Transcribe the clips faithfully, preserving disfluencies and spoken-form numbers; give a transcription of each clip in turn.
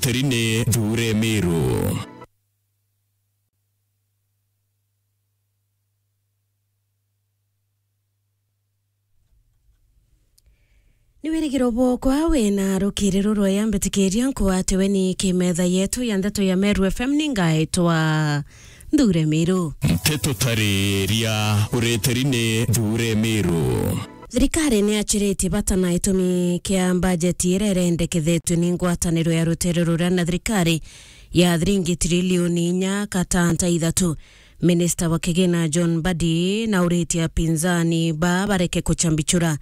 Terine Thure Miru. Ni wirigiro bwokwa wina rukiri rurweya mbitikiria nkwatiwe ni kimetha yetu ya ndeto ya Meru F M, ni ngaitwa Nthure Miru. Nteto tariria ureteri ni Nthure Miru. Thirikari ni yachiritie bata na itumi kia mbajeti iria irendekethetue ni ngwataniro ya rutere ruria na thirikari ya thiringi trilioni inya katanta ithatu. Minista wa kigina John Mbadi nauritie apinzani ba bareke kuchambichura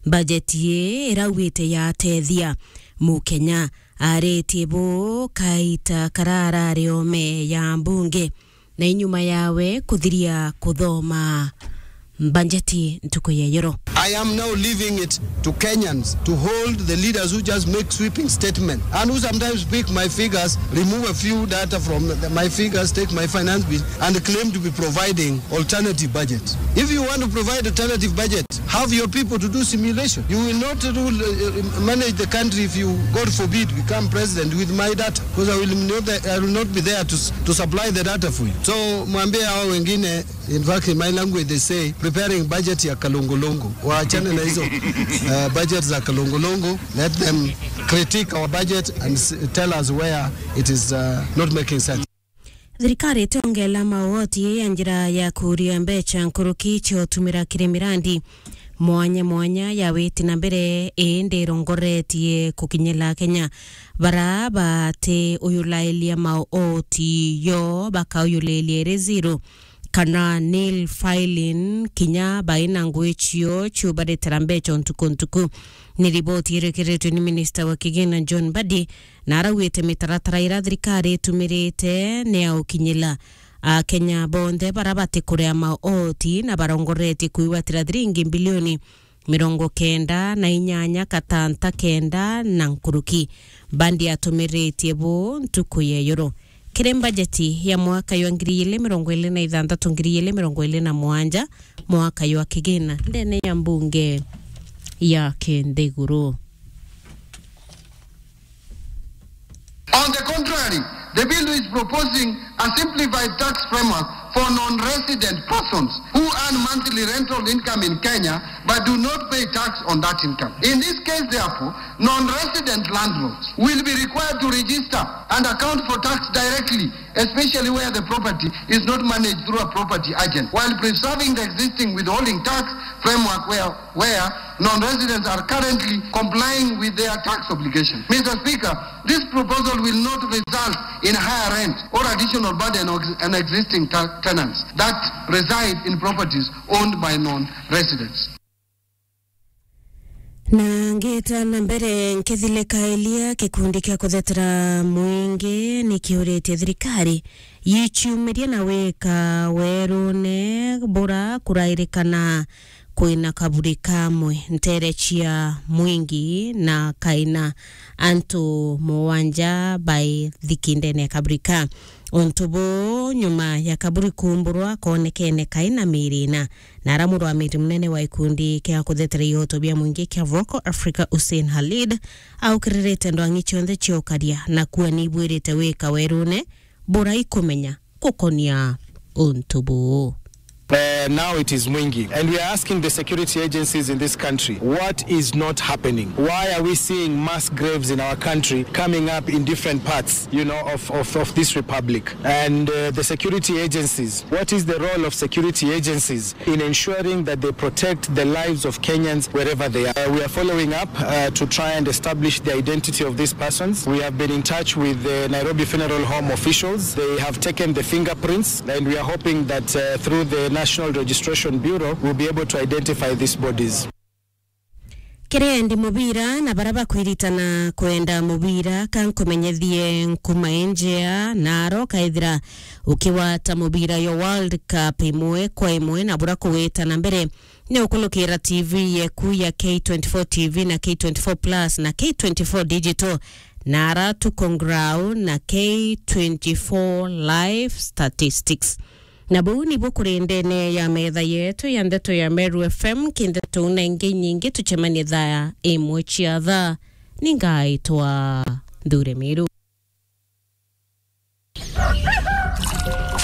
mbajeti ii irauite yatethia Mukenya. Aritie bu kaita kararari ome ya mbunge na inyuma yawe kuthiria kuthoma mbajeti ntuku ya yoro. I am now leaving it to Kenyans to hold the leaders who just make sweeping statements and who sometimes pick my figures, remove a few data from the, my figures, take my finance bill, and claim to be providing alternative budget. If you want to provide alternative budget, have your people to do simulation. You will not rule, uh, uh, manage the country if you, God forbid, become president with my data, because I will not, I will not be there to, s- to supply the data for you. So mwambie hao wengine, in fact, in my language they say, preparing budget ya kalongolongo. Waachane na hizo uh, budget za kalongolongo. Let them critique our budget and s- tell us where it is uh, not making sense. Thirikari itongela mawoti ya njira ya kuria mbeca nkuruki cia utumira kiri mirandi mwanya mwanya ya witi na mbere, indi irongoretie kukinyila Kenya bara bati uyulailia maoti yo bakauyulilia iri zero kana nil filing kinya baina ngui cio ciubaritira mbeca ntuku ntuku. Ni riboti irikiritwe ni minista wa kigina John Mbadi, na araugite mitaratara iria thirikari itumirite ni ya ukinyila Akenya bonthe bara batikuria maoti na barongoretie kwigwatira thiringi mbilioni mirongo kenda na inyanya katanta kenda na nkuruki. Mbadi atumiritie bu ntuku ya yoro. Kiri mbajeti ya mwaka jwa ngiri igiri mirongo iri na ithanthatu, ngiri igiri mirongo iri na mugwanja, mwaka jwa kigina ndene ya mbunge ya kinthiguru. On the contrary, the bill is proposing a simplified tax framework for non-resident persons who earn monthly rental income in Kenya but do not pay tax on that income. In this case, therefore, non-resident landlords will be required to register and account for tax directly, especially where the property is not managed through a property agent, while preserving the existing withholding tax framework where, where non-residents are currently complying with their tax obligation. Mister Speaker, this proposal will not result in higher rent or additional burden on existing ta- tenants that reside in properties owned by non-residents. Na ngita na mbere, nkithilika iria gikundi kia kuthetera mwingi ni kiuritie thirikari yichiumirie na wika werune bura kurairikana kwina kaburi kamwe ntere cia mwingi na kaina antu mugwanja baithiki ndene ya kaburi ka. Untu buu nyuma ya kaburi kuumburwa koonekene kaina miiri ina. Na ara murwamiti munene wa gikundi kia kuthetera ihoto bia mwingi kia Vocal Africa, Hussein Khalid, aukiririte ndwang'i cionthe cia ukaria na kuua ni ibwirite wika werune bura ikumenya gukonia untu buu. Uh, now it is Mwingi. And we are asking the security agencies in this country, what is not happening? Why are we seeing mass graves in our country coming up in different parts, you know, of, of, of this republic? And uh, the security agencies, what is the role of security agencies in ensuring that they protect the lives of Kenyans wherever they are? Uh, we are following up uh, to try and establish the identity of these persons. We have been in touch with the Nairobi Funeral Home officials. They have taken the fingerprints, and we are hoping that uh, through the National Registration Bureau, we'll be able to identify these bodies. Kiri endi mubira na bara bakwiritana kwenda mubira, ka nkumenyethie nkuma injea, na aro kaithira ukiwata mubira yo World Cup imwe kwa imwe na bura kugwita na mbere, ni ukulukira T V yeku ya K twenty-four T V na K twenty-four Plus na K twenty-four Digital, na ara Tuko Ngrau na K twenty-four Live Statistics. Na buu nibu kuri ndene ya metha yetu ya ndeto ya Meru F M. Ki ndeto na ingi nyingi, tucemanie thaa imwe cia thaa. Ni ngaitwa Nthure Miru.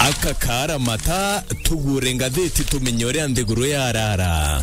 Aka kaara mata, tugure ngathiti tumenye uria nthiguru yarara.